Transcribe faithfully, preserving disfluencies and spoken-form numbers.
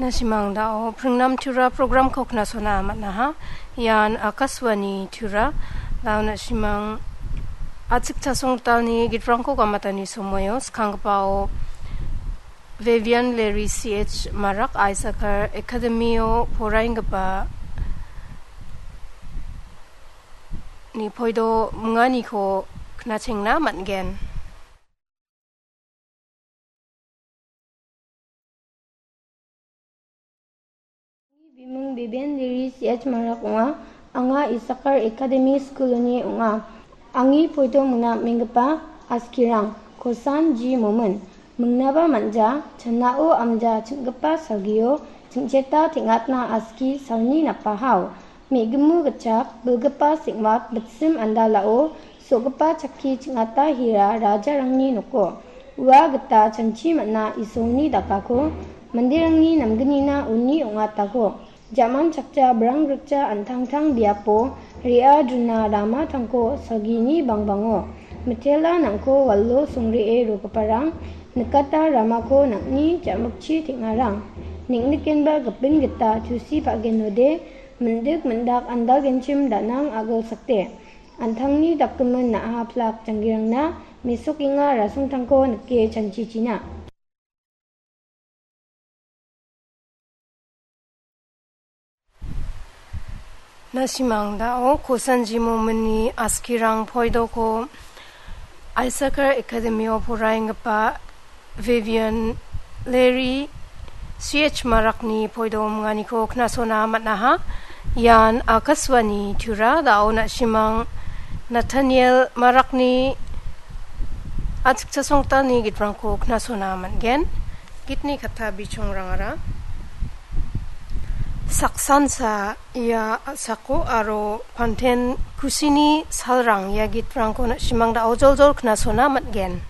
Na·simang dao Pringnam Tura programko knasona man·aha. Ian Akashvani Tura. Dao na·simang A·chik Chasongtalni gitrangko gamatani somoio skanggipao Vivian Larry C H Marak Isakar Academy-o poraenggipa ni poido minganiko knachengna man·gen. Bimung Beben Diri C H Marak ong·a. Anga Isakar Academy School-oni ong·a. Angni poito mingna menggipa askirang, Kosan Ji Momin. Mingnaba manja, chanao amja ching·gipa salgio, ching·cheta teng·atna aski salni napahao. Me·gimu gitchak, bilgipa seng·wat, bitsim andalao, so·gipa chakki ching·ata hira rajarangni noko. Ua gita chanchi man·a Isolni dakako, manderangni namgnina uni ong·atako. Jaman chakja brang grikja an·tangtang biapo re·a juna ramatangko salgini bangbango. Mitela nangko walo songre·e rogiparang nikata ramako nang·ni ja·mikchi teng·arang. Neng·nikenba gipin gita tusi pa·genode, mindik mindak andalgenchim danang a·gilsakde. An·tangni dakgimin na·a plak janggirangna mesokenga rasongtangko nike chanchichina. Na·simang dao Kosanji Mominni askirang poidoko Isakar Academy-o poraenggipa Vivian Larry C H Marakni poido minganiko knasona man·aha. Ian Akashvani Tura. Dao na·simang Nathaniel Marakni A·chik Chasongtalni gitrangko knasona man·gen. Gitni katta bichongrangara saksansa ia a·sako aro Panten Kusini Salrang ia gitrangko na·simang dao joljol knasona man·gen.